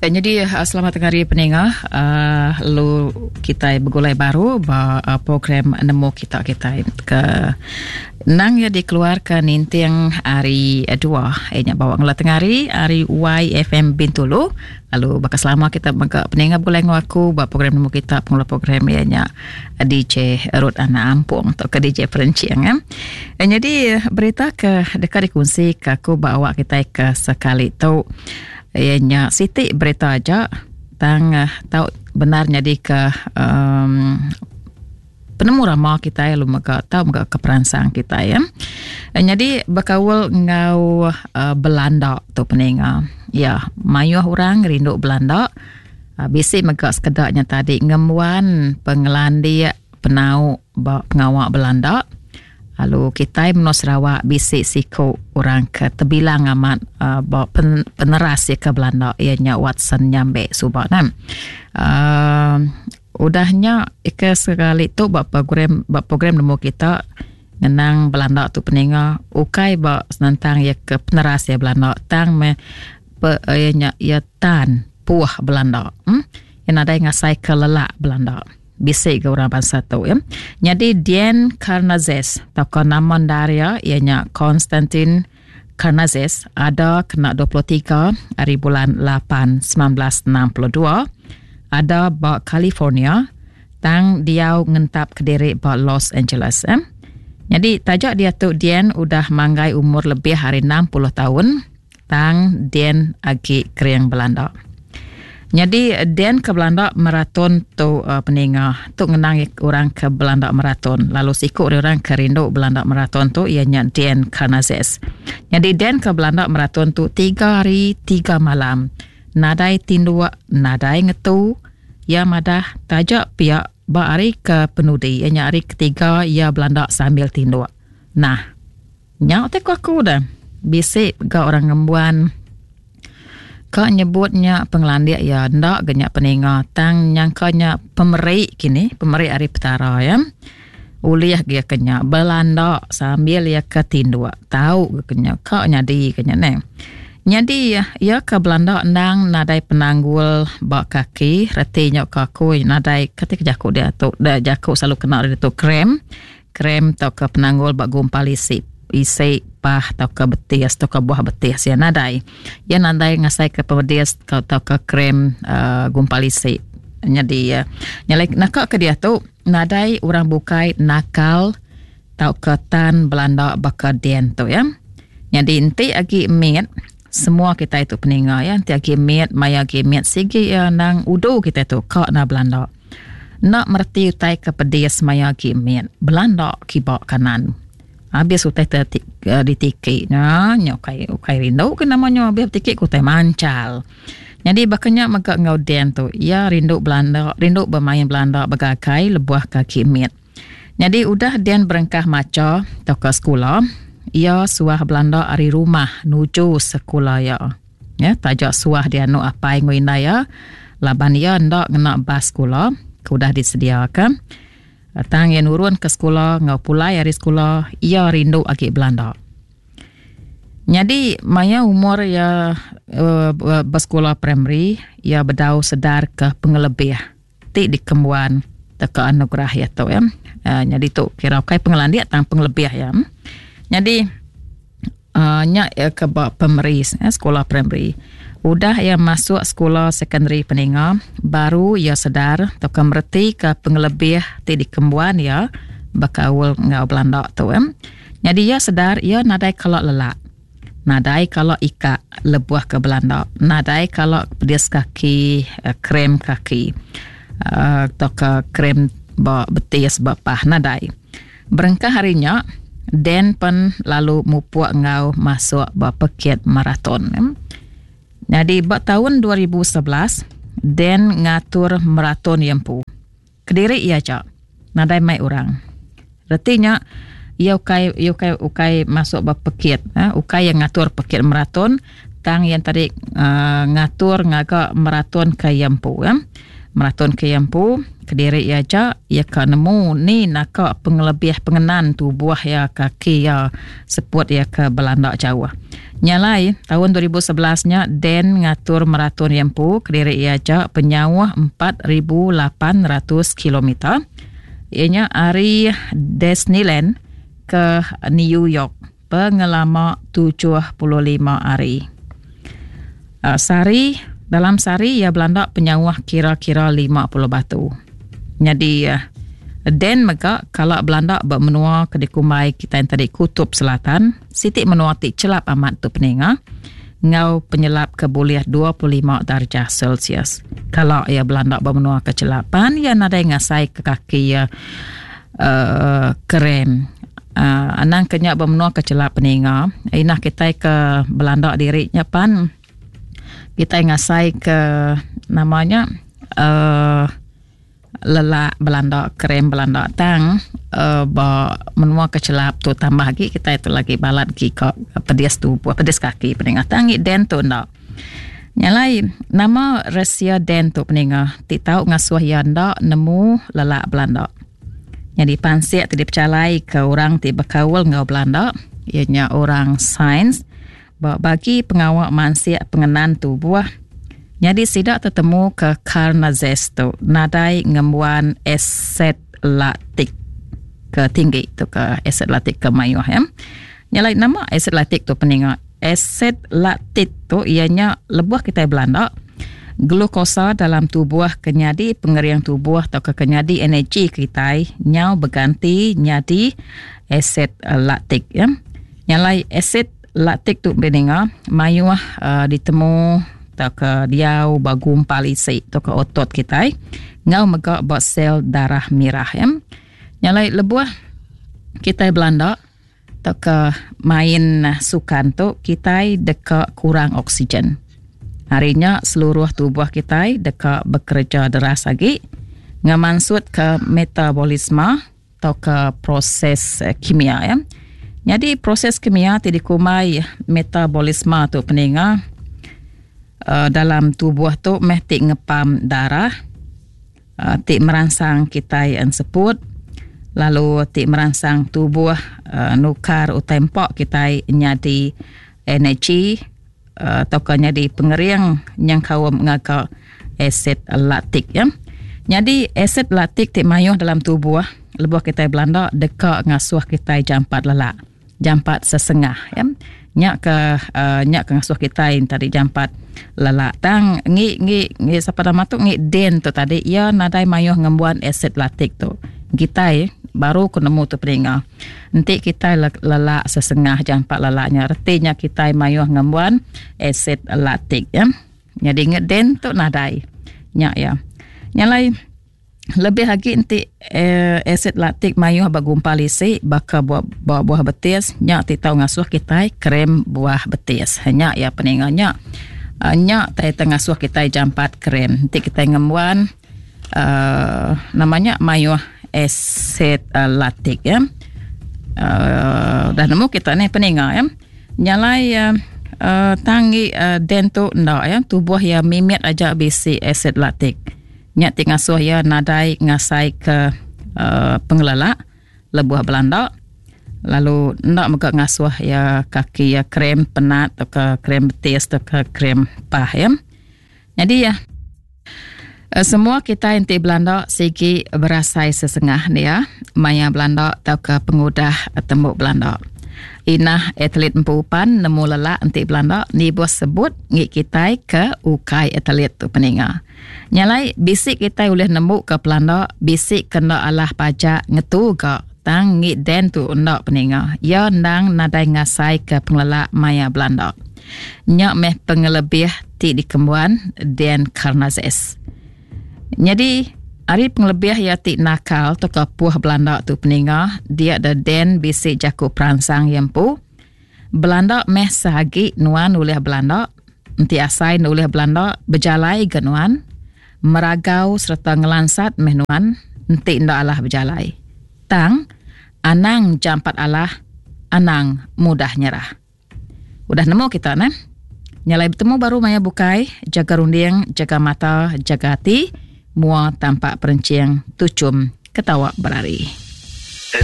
Nyadi selamat tengah hari peninga lalu kitai begulai baru ba program nemu kita kitai ke nang iya dikeluarka ninting hari dua iya nya bawa ngela tengah hari ari YFM Bintulu lalu baka selama kita mega peninga begulai enggau aku ba program nemu kita pengeluar program iya nya DJ Ruth Anak Ampung tauka DJ Perenching eh. Nyadi berita ke deka dikunsi ke aku ba awak kitai ke sekali tu Iya nya siti berita aja tang tau bendar nyadi ke um, penemu rama kitai lalu mega tau mega ke peransang kitai ya. Nyadi bekaul enggau uh, Belanda tu peninga. Ya, mayuh orang rindu Belanda. Uh, bisi mega sekeda nya tadi ngembuan pengelandik penau ba pengawa Belanda. Lalu kitai menua Sarawak bisi siku orang ke tebilang amat uh, ba pen, peneras iya ke Belanda iya nya Watson Nyambe suba nah. Uh, udah nya ke sekali tu ba program ba program nemu kita ngenang Belanda tu peninga ukai ba senentang iya ke peneras iya Belanda tang meh pe, iya nya iya tan puh Belanda. Hmm? Iya nadai ngasai ke lelak Belanda. Bisi ga orang bansa tu ya. Nyadi Dian Karnazes tauka nama endar iya iya nya Konstantin Karnazes ada kena 23 hari bulan 8 1962 ada ba California tang diau ngentap kediri ba Los Angeles. Eh. Nyadi taja diatu Dian udah manggai umur lebih ari 60 taun Tang Dian agi kering belanda. Nyadi Dian ke belanda maraton tu uh, peninga. Tu ngenang orang ke belanda maraton. Lalu siku ari orang ke rindu belanda maraton tu iya nya Dian Karnazes. Nyadi Dian ke belanda maraton tu tiga hari tiga malam. Nadai tinduk, nadai ngetu. Iya madah taja pia ba hari ke penudi iya nya hari ketiga iya belanda sambil tinduk. Nah, Nya utai ku aku dah. Bisi ga orang ngembuan ka nyebut nya pengelandik iya enda ga nya peninga tang nyangka nya pemeri kini pemeri ari petara iya. Ulih ga iya ke nya belanda sambil iya ke tinduk tau ga ke nya ka nyadi ke nya neh. Nyadi iya ke belanda endang nadai penanggul ba kaki reti nya ka aku nadai kati ke jaku diatu jaku selalu kena diatu cramp. Krem tauka penanggul ba gumpal isi isi pah tauka betis tauka buah betis iya nadai. Iya nadai ngasaika pemedis tauka krem uhh gumpal isi. Nyadi iya nyadi naka ke diatu nadai orang bukai nakal tauka tan belanda baka din tu iya. Nyadi enti agi mit semua kitai tu peninga iya enti agi mit maya agi mit sigi iya nang udu kitai tu ka enda belanda. Enda mereti utai ke pedis maya agi mit. Belanda kiba kanan. Habis utai te ditiki nya, nya ukai ukai rindu ke nama nya habis betiki ke utai manchal. Nyadi baka nya mega enggau Dan tu, iya rindu belanda, rindu bemain belanda begagai lebuh ke agi mit. Nyadi udah Dan berengkah macha tauka sekula, iya suah belanda ari rumah nuju sekula iya. Ya, taja suah dianu apai enggau indai iya laban iya enda ngena bas sekula ke udah disediaka. Tang iya nurun ke sekula enggau pulai ari sekula, iya rindu agi belanda. Nyadi maya umur iya uh, besekula primary, iya bedau sedar ke pengelebih ti dikembuan teka anugerah iya tu ya. Uh, nyadi tu kira ukai pengelandik tang pengelebih iya. Nyadi uh, nya iya ke ba primary eh, sekolah primary. Udah iya masuk sekolah secondary peninga, baru iya sedar tauka mereti ke pengelebih ti dikembuan iya bekaul enggau belanda tu ya. Nyadi iya sedar iya nadai kala lelak. Nadai kala ikak lebuh ke belanda. Nadai kala pedis kaki, eh, krem kaki uh, tauka krem ba betis ba pah nadai. Berengkah hari nya, Dan pen lalu mupuk enggau masuk ba pekit maraton. Nyadi ba taun 2011, Dan ngatur maraton iya empu. Kediri iya aja. Nadai mai orang. Reti nya iya ukai iya ukai ukai masuk ba pekit eh ukai iya ngatur pekit maraton tang iya tadi uh, ngatur ngaga maraton ke iya empu eh. Meraton ke iya empu, kediri iya aja, iya ka nemu ni naka pengelebih pengenan tubuh iya kaki iya seput iya ke belanda jauh. Nya alai, taun 2011 nya Dan ngatur meraton iya empu kediri iya aja penyauh 4800 kilometer iya nya ari Disneyland ke New York pengelama 75 hari. Sehari, dalam sehari iya belanda penyauh kira-kira 50 batu. Nyadi Dan mega kala belanda ba menua ke dikumbai kitai tadi Kutub Selatan, siti menua ti chelap amat tu peninga enggau penyelap ke bulih 25 darjah Celsius. Kala iya belanda ba menua ke chelap pan iya nadai ngasai ke kaki iya uh, krem. Uh, anang ke nya ba menua ke chelap peninga, inah kitai ke belanda diri nya pan kitai ngasai ke nama nya uh, lelak belanda krem belanda tang uh, ba menua ke chelap tu tambah agi kitai tu lagi balat gi ka pedis tubuh pedis kaki peninga tang ngi den tu enda. Nya alai nama resia den tu peninga ti tau ngasuh iya enda nemu lelak belanda. Nyadi pansik ti dipejalai ke orang ti bekaul enggau belanda iya nya orang sains ba bagi pengawa mansik pengenan tubuh nyadi sida tetemu ke Karnazes tu nadai ngembuan asid laktik ke tinggi tu ke asid laktik ke mayuh ya. Nya alai nama asid laktik tu peninga? Asid laktik tu iya nya lebuh kitai belanda glukosa dalam tubuh ke nyadi pengering tubuh tauka ke nyadi energi kitai nyau beganti nyadi asid laktik ya. Nya alai asid laktik tu beri ninga mayuh uh, ditemu tauka diau ba gumpal isi tauka otot kitai enggau mega ba sel darah mirah ya. Nya alai lebuh kitai belanda tauka main sukan tu kitai deka kurang oksigen. Ari nya seluruh tubuh kitai deka bekereja deras agi ngemansutka metabolisme tauka proses kimia ya. Nyadi proses kimia ti dikumbai metabolisme tu peninga uh, dalam tubuh tu meh ti ngepam darah uh, ti meransang kitai enseput lalu ti meransang tubuh uh, nukar utai empa kitai nyadi energi uh, tauka nyadi pengering nyengkaum ngaga asid laktik ya. Nyadi asid laktik ti mayuh dalam tubuh lebuh kitai belanda deka ngasuh kitai jampat lelak, jampat sesengah ya. Nya ke uh, nya ke ngasuh kitai tadi jampat lelak. Tang ngi ngi ngi sapa nama tu ngi Den tu tadi iya nadai mayuh ngembuan asid laktik tu. Kitai baru ku nemu tu peninga. Enti kitai lelak sesengah jampat lelak nya reti nya kitai mayuh ngembuan asid laktik ya. Nyadi ngedin tu nadai. Nya ya. Nya alai lebih agi enti eh, asid laktik mayuh ba gumpal isi baka buah, buah, buah betis nya ti tau ngasuh kitai krem buah betis. Nya ya peninga nya. Uh, nya tai ngasuh kitai jampat krem. Enti kitai ngembuan uh, nama nya mayuh asid uh, laktik ya. Uh, dah nemu kita ni peninga ya. Nyalai uh, uh, tanggi uh, den tu enda ya tubuh ya mimit aja bisi asid laktik. Nya ti ngasuh ya nadai ngasai ke uh, pengelelak lebuh belanda lalu enda mega ngasuh ya kaki ya krem penat atau ke krem betis atau ke krem pah ya. Nyadi ya eh, semua kitai enti belanda sigi berasai sesengah dia maya belanda tauka pengudah tembu belanda. Inah atlet empu pan nemu lelak enti belanda nibuh sebut ngi kitai ke ukai atlet tu peninga. Nya alai bisi kitai ulih nemu ke pelanda bisi ke enda alah pajak ngetu ga tang ngi den tu enda peninga. Iya endang nadai ngasai ke pengelelak maya belanda. Nya meh pengelebih ti dikembuan Dan Karnazes. Nyadi, ari pengelebih iya ti nakal tauka puh belanda tu peninga, dia da Dan bisi jaku peransang iya empu. Belanda meh seagi nuan ulih belanda, enti asai enda ulih belanda, bejalai ga nuan, meragau sereta ngelansat meh nuan enti enda alah bejalai. Tang, anang jampat alah, anang mudah nyerah. Udah nemu kita neh. Nyalai betemu baru maya bukai, jaga runding, jaga mata, jaga ati. Mua tampak perenching tuchum ketawa berari.